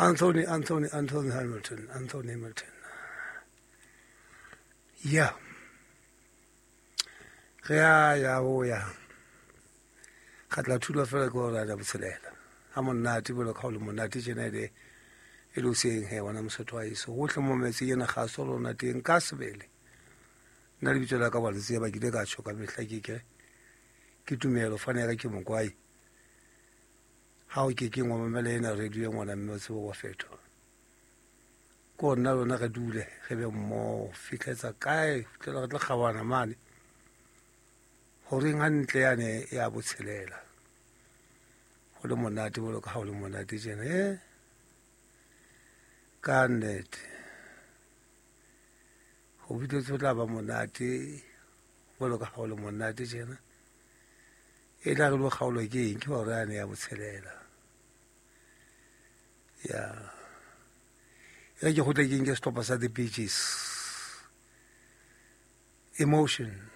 Anthony, Anthony, Anthony Hamilton, Anthony Hamilton. Ya. Re ya ya o ya. Ga tla thula fela ke ora ya botshelela. Ha monate bolo ka o le monate tjena ede e le o seng he bona mosotho wa iso. Hohle mo metse ena ga so lona teng ka sebele. Nna lebitso la ka wa le tseba ke ile ka tjho ka mehla ke ke ke tumelo fane ya ka ke mokwai. Ha o ke ke ngwa mamela ena radio e ngwana mme o tsebe wa fetoha. Ko nna lona re dule re be mmoho fitlhetsa kae fitlhela re tla kgawana mane horeng hantle yane ya botshelela go le monate bolo ka ga o le monate tjena e ka nnete go fitlhetse go tla ba monate bolo ka ga o le monate tjena e tla re lo kgaolwa ke eng ke gore yane ya botshelela ya e ke go tle ke nke setlhopha sa the beaches emotion.